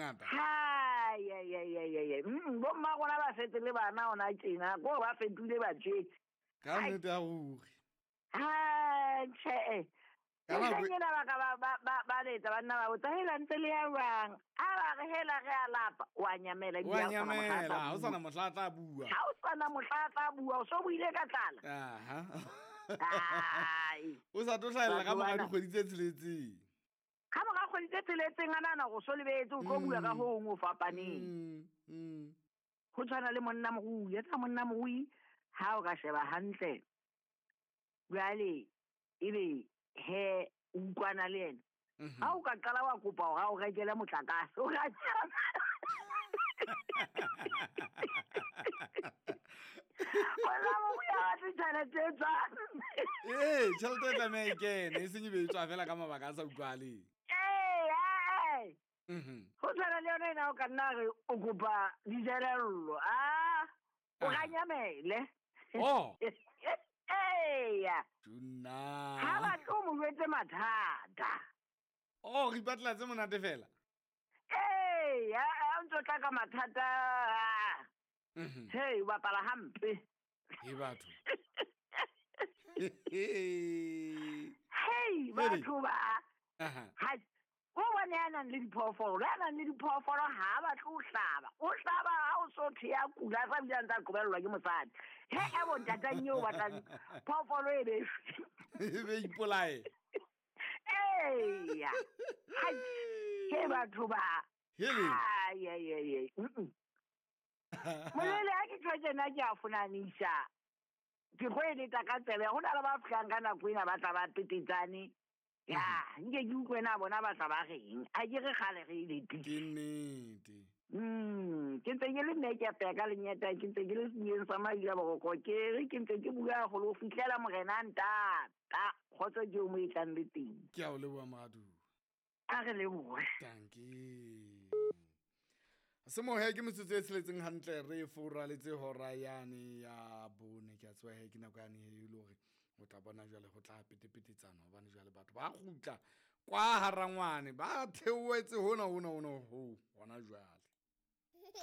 ngata. Hai ai ai ai ai ai. Bo mma rona ba setse le bana ona tjena, ko ba fetohile batjheki. Ka nnete ya ruri. Ha tjhe. Ka nako Mehleng ena ba ka ba letsa banna ba botsa, hela ntse le ya jwang? A ba re hela re a lapa, wa nyamela ebile Wa ha o sana mohla a nyamela, tla ha o bua. sana mohla a tla bua. Ha o sana mohla a tla bua, o so buile ka tlala. Aha. Ai. O sa tlo hlahella ka Batho mora bana. dikgwedi tse tsheletseng. Ka mora kgwedi tse tsheletseng a nahana hore o so lebetse, o tlo bua ka ho hong ho fapaneng. Ho tshwana le monna morui, etsa monna morui ha o ka sheba hantle. Jwale ebe he o utlwana le yena. Ha o ka qala wa kopa hore a o rekele motlakase, o ka tjhaba. Monna morui ha batle tjhelete e tswang. Ee, tjhelete e tlameha e kene, e seng e be e tswa fela ka mabaka a sa utlwahaleng. Ee, ee. Ho tshwana le yona ena o ka nna re o kopa dijelello, ah, o ka nyamele. Oh. Eya. Tjuna. Ha batle o mo jwetse mathata. Oh, re ipatlela tse monate fela. Ee, ha o ntso tla ka mathata. Hey, o bapala hampe. He batho. Hey, batho ba. Aha. Ha o bone ya nang le diphoofolo, ya nang le diphoofolo ha a batle ho hlaba. O hlaba ha o so thwe ya kula, a sa bile a ntse a qobellwa ke mosadi. He, e bo ntatang eo o batlang phoofolo e be E be ipolaye. Eya. Hai, he batho ba. Hele. Ai, ai, ai, ai. Molele ha ke tjho tjena ke a fonanisa. Ke tlo e leta ka tsebe. Ho na le ba fihlang ka nako ena ba tla ba petetsane. Ya, nke ke utlwe na bona ba tla ba reng. Ha ke re kgale re e letile. Ke nnete. Ke ntse ke le mme ke apeya ka lenyata, ke ntse ke le sebuyeng sa Madila Boroko, ke re ke ntse ke bua haholo ho fihlela morena a ntata. Kgotso ke o mo e tlang le teng. Ke a o leboha moratuwa. A re lebohe. Dankie. Semohe ke metsotso e tsheletseng hantle re foraletse hora yane ya bone. Ke a tseba he ke nako yane e le hore o tla bona jwale ho tla petepetetsana hobane jwale batho ba kgutla kwa harangwane ba theohetse hona hona hona ho hona jwale.